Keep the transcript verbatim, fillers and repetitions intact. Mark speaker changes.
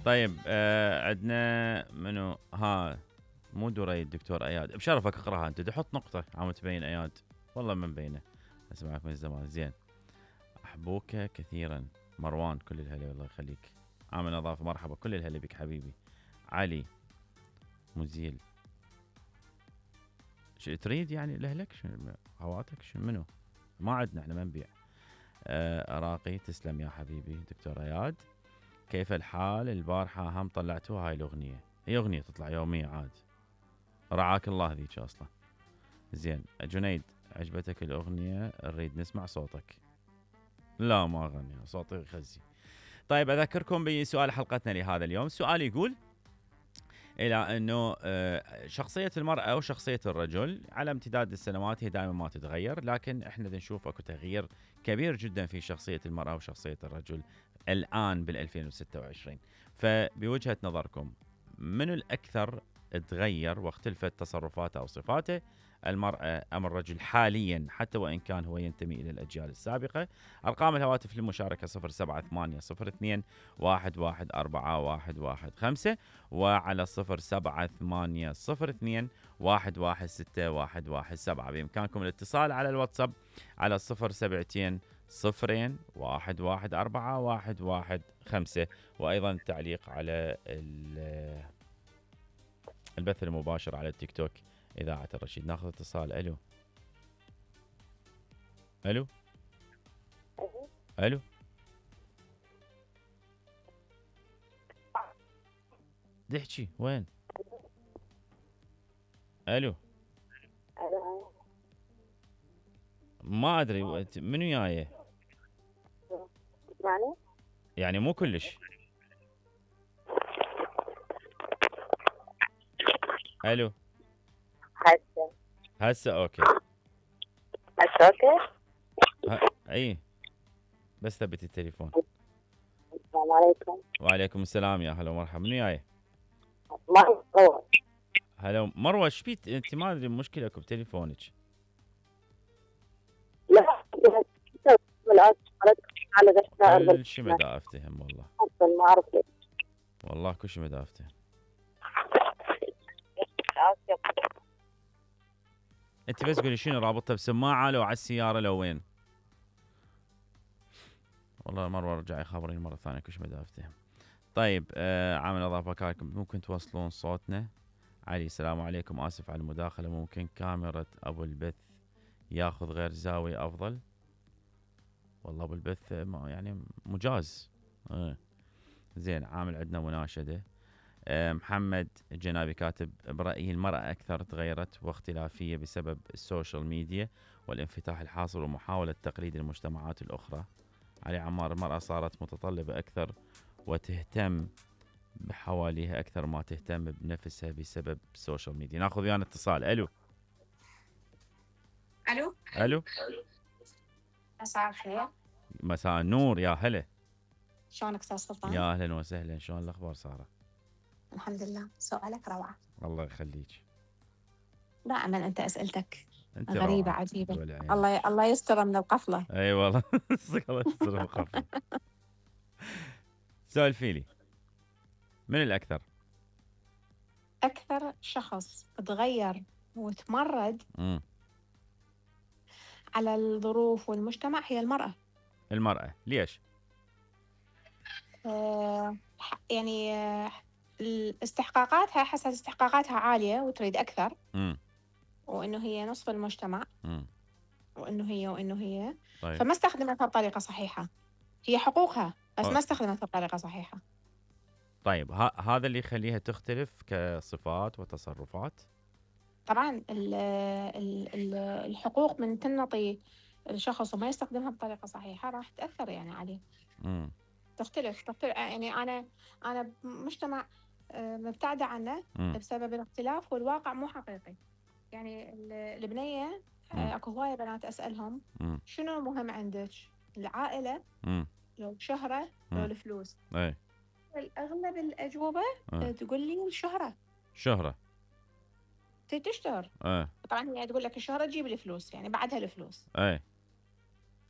Speaker 1: طيب آه عندنا منو ها مو دري الدكتور اياد بشرفك اقراها انت تحط نقطه عم تبين اياد والله ما مبينه اسمعك من زمان زين. احبوك كثيرا مروان كل الهلا الله يخليك. عامل نظافه مرحبا كل الهلا بك حبيبي. علي مزيل شو تريد يعني لاهلك شو خواتك شو منو ما عندنا احنا ما نبيع. آه راقي تسلم يا حبيبي دكتور اياد. كيف الحال البارحه هم طلعتوها هاي الاغنيه هي اغنيه تطلع يوميه عاد رعاك الله ذيك اصلا. زين جنيد عجبتك الاغنيه نريد نسمع صوتك. لا ما اغني صوتي خزي. طيب اذكركم بسؤال حلقتنا لهذا اليوم. السؤال يقول الى انه شخصيه المراه وشخصيه الرجل على امتداد السنوات هي دائما ما تتغير لكن احنا نشوف اكو تغيير كبير جدا في شخصيه المراه وشخصيه الرجل الان بال ألفين وستة وعشرين. فبوجهه نظركم منو الاكثر تغير واختلفت تصرفاته او صفاته المرأة أم الرجل حاليا حتى وإن كان هو ينتمي إلى الأجيال السابقة؟ أرقام الهواتف للمشاركة صفر سبعة ثمانية صفر اثنين واحد واحد أربعة واحد واحد خمسة وعلى صفر سبعة ثمانية صفر اثنين واحد واحد ستة واحد واحد سبعة. بإمكانكم الاتصال على الواتساب على صفر سبعتين صفرين واحد واحد أربعة واحد واحد خمسة وأيضا التعليق على البث المباشر على التيك توك إذاعة الرشيد. ناخذ اتصال. ألو ألو ألو دحكي وين؟ ألو ما أدري منو جايه؟
Speaker 2: يعني
Speaker 1: يعني مو كلش. ألو
Speaker 2: هسه
Speaker 1: هسه أوكي
Speaker 2: هسه اوكي
Speaker 1: ه... أي بس ثبت التليفون.
Speaker 2: السلام عليكم.
Speaker 1: وعليكم السلام يا هلا ومرحبا. منو جايه؟
Speaker 2: مروة.
Speaker 1: هلا مروة ايش بيك انت ما ادري مشكلة بتليفونك.
Speaker 2: لا
Speaker 1: كل شيء ما دا افتهم والله.
Speaker 2: ما اعرف ليش
Speaker 1: والله كل شيء ما دا افتهم. انت بس قولي شنو رابطها بسماعة لو على السيارة لو وين؟ والله مرة رجع يخبرني مرة ثانية كل شيء ما دا افتهم. طيب آه عامل نظافة كاكم ممكن توصلون صوتنا؟ علي السلام عليكم اسف على المداخلة ممكن كاميرا ابو البث ياخذ غير زاوية افضل؟ والله ابو البث يعني مجاز. آه. زين عامل عندنا مناشدة. آه محمد الجنابي كاتب برأيي المرأة أكثر تغيرت واختلافية بسبب السوشيال ميديا والانفتاح الحاصل ومحاولة تقليد المجتمعات الأخرى. علي عمار المرأة صارت متطلبة أكثر وتهتم بحواليها أكثر ما تهتم بنفسها بسبب السوشيال ميديا. ناخذ ويانا اتصال. ألو
Speaker 3: ألو
Speaker 1: ألو
Speaker 3: مساء الخير.
Speaker 1: مساء النور يا هلا.
Speaker 3: شلونك استاذ سلطان؟
Speaker 1: يا اهلا وسهلا شلون الاخبار ساره؟
Speaker 3: الحمد لله. سؤالك روعه.
Speaker 1: الله يخليك.
Speaker 3: دائما انت اسئلتك
Speaker 1: انت
Speaker 3: غريبه
Speaker 1: روعة.
Speaker 3: عجيبه. الله ي... الله يستر من القفله.
Speaker 1: اي والله الله يستر من القفله. سولفي لي من الاكثر؟
Speaker 3: اكثر شخص تغير وتمرد
Speaker 1: مم.
Speaker 3: على الظروف والمجتمع هي المراه.
Speaker 1: المراه ليش؟
Speaker 3: آه يعني آه استحقاقاتها حسب استحقاقاتها عاليه وتريد اكثر.
Speaker 1: مم.
Speaker 3: وانه هي نصف المجتمع.
Speaker 1: مم.
Speaker 3: وانه هي وانه هي
Speaker 1: طيب.
Speaker 3: فما استخدمتها بطريقه صحيحه. هي حقوقها بس
Speaker 1: أوه.
Speaker 3: ما استخدمتها بطريقه صحيحه.
Speaker 1: طيب ه- هذا اللي يخليها تختلف كصفات وتصرفات.
Speaker 3: طبعا ال ال ال الحقوق من تنطي الشخص وما يستخدمها بطريقه صحيحه راح تاثر يعني عليه.
Speaker 1: مم.
Speaker 3: تختلف تختلف يعني انا انا بمجتمع مبتعده عنه
Speaker 1: مم.
Speaker 3: بسبب الاختلاف والواقع مو حقيقي. يعني البنيه اكو هوايه بنات اسالهم
Speaker 1: مم.
Speaker 3: شنو مهم عندك؟ العائله
Speaker 1: مم.
Speaker 3: لو الشهره لو الفلوس؟
Speaker 1: اي
Speaker 3: اغلب الاجوبه
Speaker 1: أه.
Speaker 3: تقول لي الشهره.
Speaker 1: شهره
Speaker 3: تشتهر.
Speaker 1: ايه
Speaker 3: طبعا هي تقول لك الشهرة تجيب الفلوس يعني بعدها الفلوس.
Speaker 1: ايه